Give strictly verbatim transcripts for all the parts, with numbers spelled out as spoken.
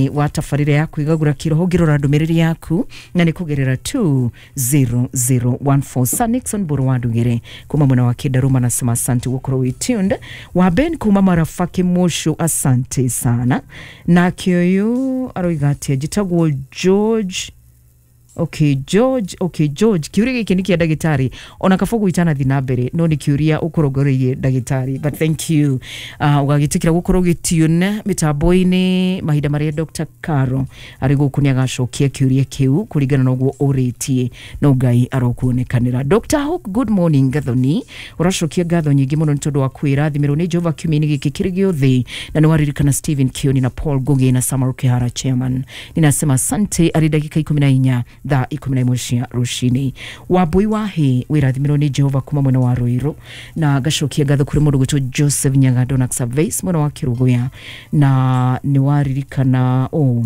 Wa tabarĩra ya kwĩgagũra kĩroho, ngĩrora ndũmĩrĩri yaku na nĩ kũgerera two zero zero one four. Sir Nixon Mbũrũ wa Ndugĩre kuma mwena wa Kĩndarũma nasema asante gũkorwo wĩ tuned. Wa Ben kuma Marafa Kĩmũcũ, asante sana. Nake ũyũ aroiga atĩa? Njĩtagwo George. Okay, George. Okay, George, kiuria gĩkĩ nĩ kĩa ndagĩtarĩ ona kabogo itanathi na mbere, no nĩ kĩũria ũkũrongoreirie ndagĩtarĩ, but thank you uh, ũgagĩtĩkĩra gũkorwo ũgĩtune mĩtambo-inĩ mahinda marĩa Doctor Caro arĩ gũkũ. Nĩ agacokia kĩũria kĩu kũringana na ũguo ũrĩtie, no Ngai arokuonekanĩra. Doctor Hook, good morning. Gathoni ũracokia ngatho nyingĩ mũno nĩ tondũ wa kwĩrathimĩrwo nĩ Jehova kiumia-inĩ gĩkĩ kĩrĩ gĩothe, na nĩ waririkana Stephen Kioni na Paul Ngugi na Samuel Kihara chairman. Ninasema asante. Arĩ ndagĩka ikũmi na inya thaa ikũmi na ĩmwe cia rũcinĩ. Wambui wa hĩ, wĩrathimĩrwo nĩ Jehova kuma mwena wa Rũirũ, na ngacokia ngatho kũrĩ mũndũ gwĩtwo Joseph Nyagando na Xavier mwena wa Kĩrũgũya, na nĩ waririkana oh,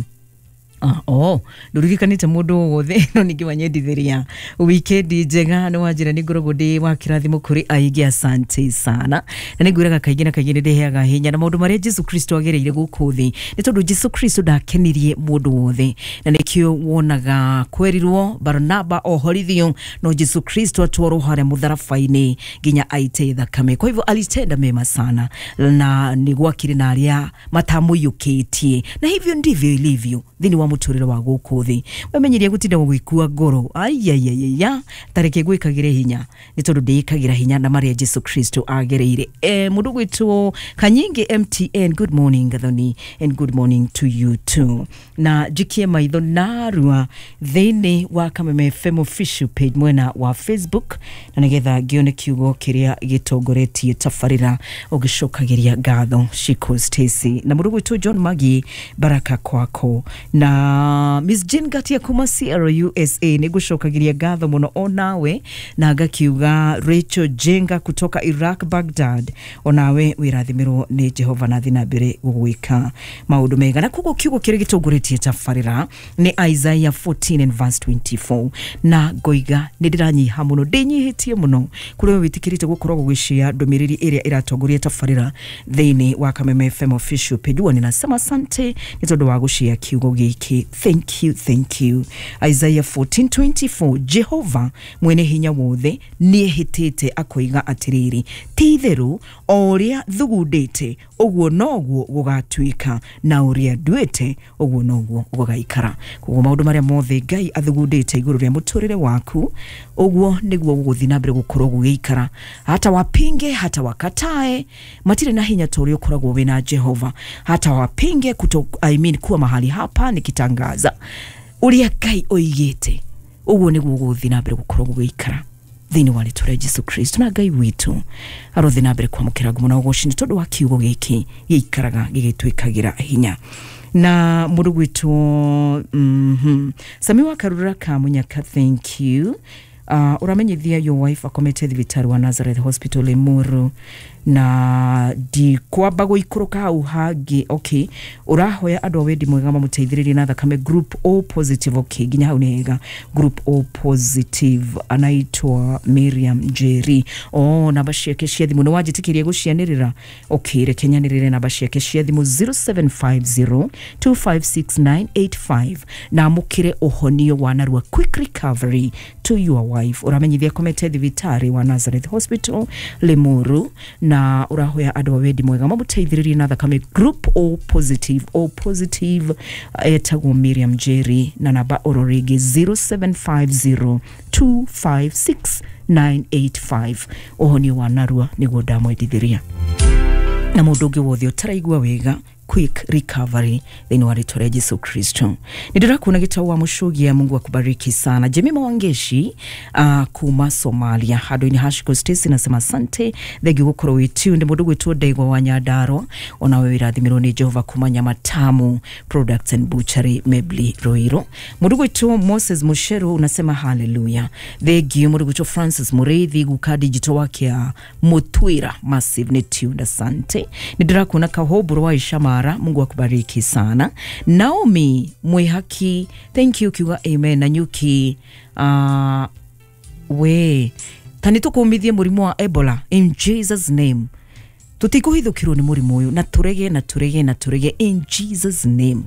Ah, oh, ndũririkanĩte mũndũ o wothe, no ningĩ wanyendithĩria wikendi njega. Nĩ wanjĩra nĩ ngoragwo ndĩ wa kĩrathimo kũrĩ aingĩ, asante sana. Na nĩ ngwĩraga kaingĩ na kaingĩ nĩ ndĩheaga hinya na maũndũ marĩa Jesu Kristo agereire gũkũ thĩ, nĩ tondũ Jesu Kristo ndakenirie mũndũ wothe, na nĩkĩo wonaga kwerirwo Barnaba ohorithio, no Jesu Kristo atwarwo harĩa mũtharaba-inĩ nginya aite thakame. Kwa hivyo alitenda mema sana na nĩ gwakĩrĩ na arĩa matamũiyũkĩtie, na hivyo ndivyo ilivyo thĩinĩ wa mũtũrĩre wa gũkũ thĩ. Wemenyeria gũtinda gũgĩkua ngoro, aiaiaiya, tareke gwĩkagĩre hinya, nĩ tondũ ndĩĩkagĩra hinya na marĩa Jesu Kristo agereire. E, mũndũ gwĩtwo Kanyingi M T N, good morning Gathoni, and good morning to you too. Na njikie maitho narua thĩinĩ wa Kameme F M official page mwena wa Facebook, na nĩgetha ngĩone kiugo kĩrĩa gĩtongoretie tabarĩra ũgĩcokagĩria ngatho Shiko Stacy na mũndũ gwĩtwo John Magi, baraka kwako, na Miss Jane Gatia kuma C R U S A, nĩ ngũcokagĩria ngatho mũno onawe, na ngakiuga Rachel Jenga kutoka Iraq, Baghdad, onawe wĩrathimĩrwo nĩ Jehova na thiĩ na mbere gũgwĩka maũndũ mega. Na koguo kiugo kĩrĩa gĩtongoretie tabarĩra nĩ Isaiah fourteen and verse twenty-four, na ngoiga nĩ ndĩranyiha mũno, ndĩnyihĩtie mũno kũrĩ we wĩtĩkĩrĩte gũkorwo gũgĩshare ndũmĩrĩri ĩrĩa ĩratongoria tabarĩra thĩinĩ wa Kameme F M official page. Huwa ninasema asante nĩ tondũ wa gũshare kiugo gĩkĩ. Thank you, thank you. Isaiah fourteen twenty-four: Jehova mwene hinya wothe nĩehĩtĩte akoiga atĩrĩrĩ, ti itherũ o ũrĩa thugundĩte ũguo noguo gũgatuĩka, na ũrĩa nduĩte ũguo noguo gũgaikara. Koguo maũndũ marĩa mothe Ngai athugundĩte igũrũ rĩa mũtũrĩre waku, ũguo nĩguo gũgũthiĩ na mbere gũkorwo gũgĩikara, hata wapinge, hata wakatae, matirĩ na hinya ta ũrĩa ũkoragwo wĩna Jehova. Hata wapinge kuto, I mean, kuwa mahali hapa nikitangaza ũrĩa Ngai oigĩte, ũguo nĩguo gũgũthiĩ na mbere gũkorwo gũgĩikara thĩinĩ wa rĩtwa rĩa Jesu Kristo. Na Ngai witũ arothiĩ na mbere kwamũkĩra ngumo na ũgoci nĩ tondũ wa kiugo gĩkĩ gĩikaraga gĩgĩtwĩkagĩra hinya. Na mũndũ gwĩtwo mm -hmm. Sami wa Karura ka Munyaka, thank you. uh, ũramenyithia your wife akomete thibitarĩ wa Nazareth Hospital Limuru, na ndikwamba gũikũrũka hau hangĩ. Okay, ũrahoya andũ a wendi mwega mamũteithĩrĩrie na thakame, group O positive. Okay, nginya hau nĩ hega. Group O positive, anaitwa Miriam Njeri. Oh, namba ciake cia thimũ nĩ wanjĩtĩkĩria gũcianĩrĩra. Okay, reke nyanĩrĩre namba ciake cia thimũ zero seven five zero two five six nine eight five, na amũkĩre ũhonio wa narua, quick recovery to your wife. Ũramenyithia komete thibitarĩ wa Nazareth Hospital Limuru, na ũrahoya andũ a wendi mwega mamũteithĩrĩrie na thakame, group O positive, O positive, etagwo Miriam Njeri, na namba oro rĩngĩ zero seven five zero two five six nine eight five. Ũhonio wa narua nĩguo ndamwendithĩria, na mũndũ ũngĩ wothe ũtaraigua wega, quick recovery thĩinĩ wa rĩtwa rĩa Jesu Kristo. Nĩ ndĩrakuona gĩtau wa Mũcũgia, Mungu akubariki sana. Jemima Wangeshi uh, kuma Somalia, handũ-inĩ ha Shiko Stacy nasema asante, thengiũ gũkorwo wĩ tuned. Mũndũ gwĩtwo Ndegwa wa Nyandarua, onawe wĩrathimĩrwo nĩ Jehova kuma Nyamatamu Products and Butchery, Mebli Ruiru. Mũndũ gwĩtwo Moses Musheru unasema haleluya, thengiũ. Mũndũ gwĩtwo Francis Mũrĩithi guka digital wake ya Mutwira Massive nĩ tuned, asante. Nĩ ndĩrakuona Kahoburo wa Ishamara, Mungu akubariki sana. Naomi Mwihaki, thank you, kiuga amen. Na nyuki uh, we ta nĩ tũkũmithie mũrimũ wa Ebola in Jesus name. Tũtikũhithũkĩrwo nĩ mũrimũ ũyũ, na tũrege na tũrege na tũrege in Jesus name.